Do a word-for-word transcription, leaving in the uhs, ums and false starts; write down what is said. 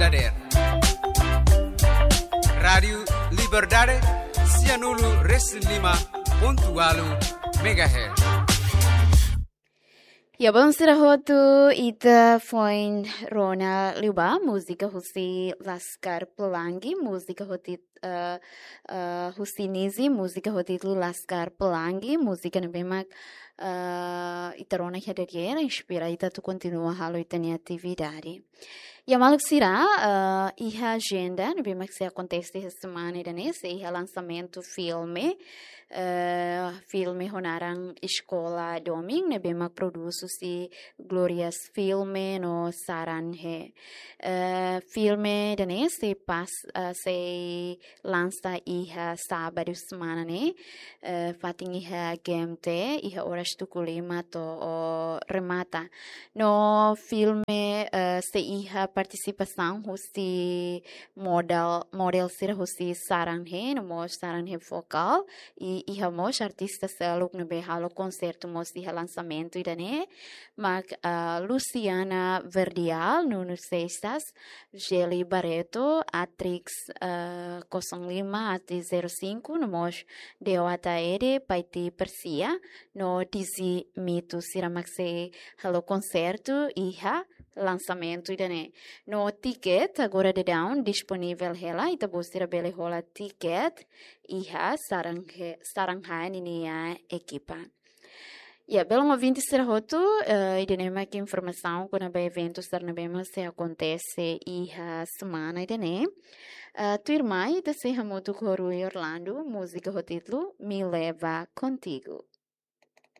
Dader. Rádiu Liberdade, sianulu resin lima pontu ualu megahertz. Ya, bom, sira hotu, ita foin rona liubá múzika husi Laskar Pelangi, múzika hotu, eh, eh, husi Nizi, múzika hotu Laskar Pelangi, múzika ne'ebé mak, eh, ita rona iha dadeer, inspira ita atu kontinua halo ita-nia atividade. Ya, maluk sira, eh, iha ajenda ne'ebé mak sei akontese iha semana ida-ne'e, sei iha lansamentu filme, eh, filme ho naran Eskola Domin, ne'ebé mak produs husi Glorias Filme no Saran He. Eh, filme ida-ne'e sei pas, eh, sei lansa iha sábadu semana ne'e, eh, fatin iha G M T, iha oras tuku lima to'o remata. No filme, eh, sei iha partisipasaun husi model, model sira husi Saran He, no mós Saran He Vocal, i iha mós artista seluk ne'ebé halo konsertu mós iha lansamentu ida-ne'e, mak, eh, Luciana Verdial, Nuno Seixas, Geli Barreto, Atrix, eh, kosong lima, Atrix zero cinco, no mós Deo Ataede, Paiti Persia, no Dizzy Mito, sira mak sei halo konsertu iha lansamentu ida-ne'e. No tiket agora daudaun disponivel hela, ita-boot sira bele hola tiket iha Saran He, Saran He ninia ekipa. Ya, belun ouvinte sira hotu, eh, ida-ne'e mak informasaun kona-ba eventu sira ne'ebé mak sei akontese iha semana ida-ne'e. Eh, tuirmai, ita sei hamutuk ho Rui Orlando, múzika ho títulu Me Leva Contigo.